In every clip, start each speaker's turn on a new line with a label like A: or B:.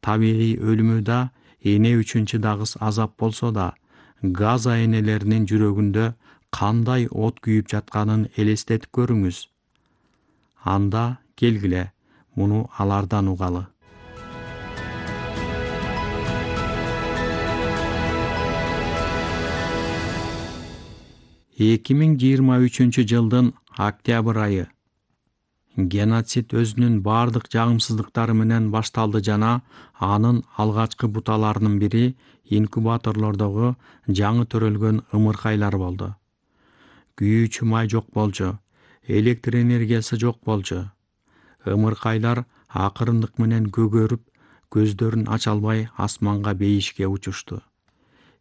A: Табигый өлүмү да эне үчүн чыдагыс азап болсо да, Газа энелеринин жүрөгүндө кандай от күйүп жатканын элестетип көрүңүз. Анда келгиле, муну алардан угалы. Эки миң жыйырма үчүнчү жылдын октябрь айы. Геноцид өзүнүн бардык жагымсыздыктары менен башталды жана анын алгачкы буталарынын бири инкубаторлордогу жаңы төрөлгөн ымыркайлар болду. Күйүүчү май жок болчу, электр энергиясы жок болчу. Ымыркайлар акырындык менен көгөрүп, көздөрүн ача албай асманга бейишке учушту.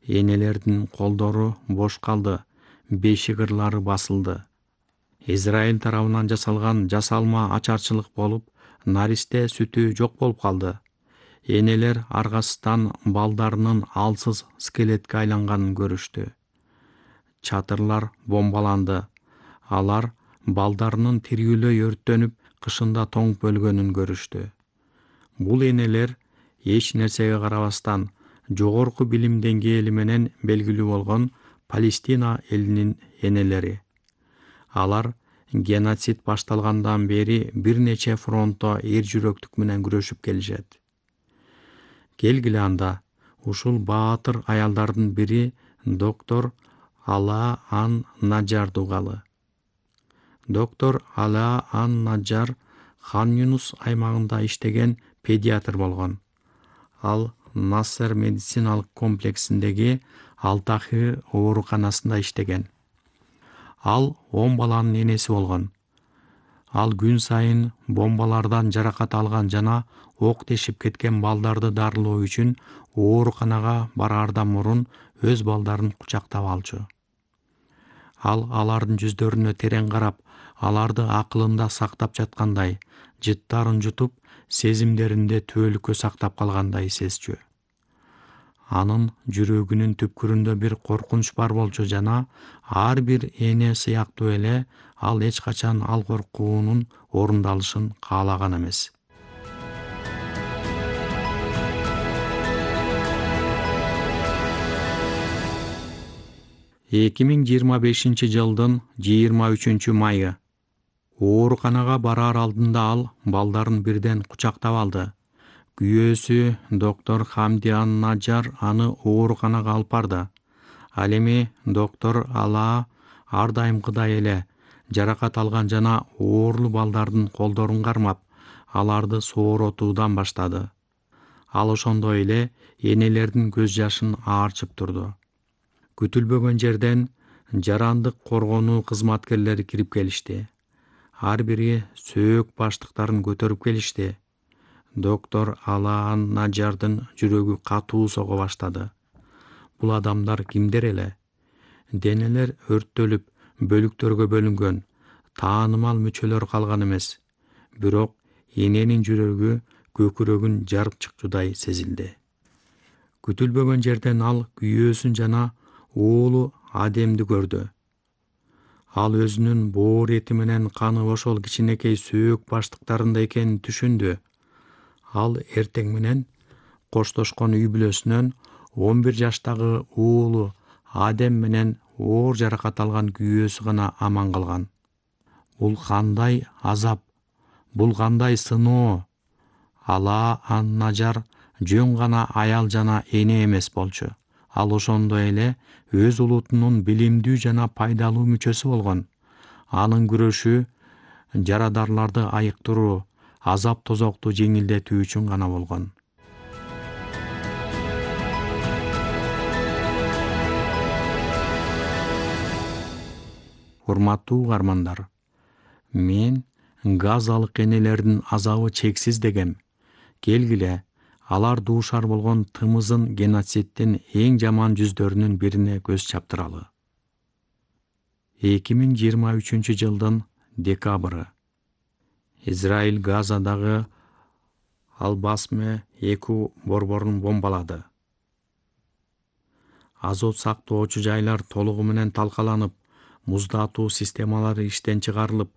A: Энелердин колдору бош калды, бешик-ырлары басылды. Израиль тарабынан жасалган жасалма ачарчылык болуп, наристе сүтү жок болуп калды. Энелер аргасыздан балдарынын алсыз скелетке айланганын көрүштү. Чатырлар бомбаланды. Алар балдарынын тирүүлөй өрттөнүп, кышында тоңуп өлгөнүн көрүштү. Бул энелер эч нерсеге карабастан жогорку билим деңгээли менен белгилүү болгон Палестина элинин энелери. Алар геноцид башталгандан бери бир нече фронтто эр жүрөктүк менен күрөшүп келишет. Келгиле анда ушул баатыр аялдардын бири доктор Алаа ан-Наджарды угалы. Доктор Алаа ан-Наджар Хан Юнус аймагында иштеген педиатр болгон. Ал Нассер медициналык комплексиндеги Алтахи ооруканасында иштеген. Ал 10 баланын энеси болгон. Ал күн сайын бомбалардан жаракат алган жана ок тешип кеткен балдарды дарылоо үчүн ооруканага бараардан мурун өз балдарын кучактап алчу. Ал алардын жүздөрүнө терең карап, аларды акылында сактап жаткандай, жыттарын жутуп, сезимдеринде түбөлүккө сактап калгандай сезчү. Анын жүрөгүнүн түпкүрүндө бир коркунуч бар болчу жана ар бир эне сыяктуу эле ал эч качан ал коркуунун орундалышын каалаган эмес. Эки миң жыйырма бешинчи жылдын 23 майы. Ооруканага бараар алдында ал балдарын бирден кучактап алды. Күйөөсү доктор Хамди ан-Наджар аны ооруканага алып барды. Ал эми доктор Алаа ар дайымкыдай эле жаракат алган жана оорлуу балдардын колдорун кармап, аларды сооротуудан баштады. Ал ошондой эле энелердин көз жашын аарчып турду. Күтүлбөгөн жерден жарандык коргонуу кызматкерлери кирип келишти. Ар бири сөөк баштыктарын көтөрүп келишти. Доктор Алаа ан-Наджардын жүрөгү катуу сого баштады. Бул адамдар кимдер эле? Денелер өрттөлүп, бөлүктөргө бөлүнгөн, таанымал мүчөлөр калган эмес. Бирок эненин жүрөгү көкүрөгүн жарып чыкчудай сезилди. Күтүлбөгөн жерден ал күйөөсүн жана уулу Адемди көрдү. Ал өзүнүн боор эти менен каны ошол кичинекей сөөк баштыктарында экенин түшүндү. Ал эртең менен коштошкон үй бүлөсүнөн 11 жаштагы уулу Адем менен оор жаракат алган күйөөсү гана аман калган. Бул кандай азап, бул кандай сыноо? Алаа ан-Наджар жөн гана аял жана эне эмес болчу. Ал ошондой эле өз улутунун билимдүү жана пайдалуу мүчөсү болгон. Анын күрөшү жарадарларды айыктыруу, азап тозокту жеңилдетүү үчүн гана болгон. Урматтуу угармандар, мен газалык энелердин азабы чексиз дегем. Келгиле, алар дуушар болгон тымызын геноциддин эң жаман жүздөрүнүн бирине көз чаптыралы. 2023 жылдын декабры. Израиль Газадагы Ал-Басме 2 борборун бомбалады. Азот сактоочу жайлар толугу менен талкаланып, муздатуу системалары иштен чыгарылып,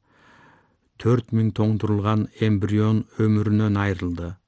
A: 4000 тоңдурулган эмбрион өмүрүнөн айрылды.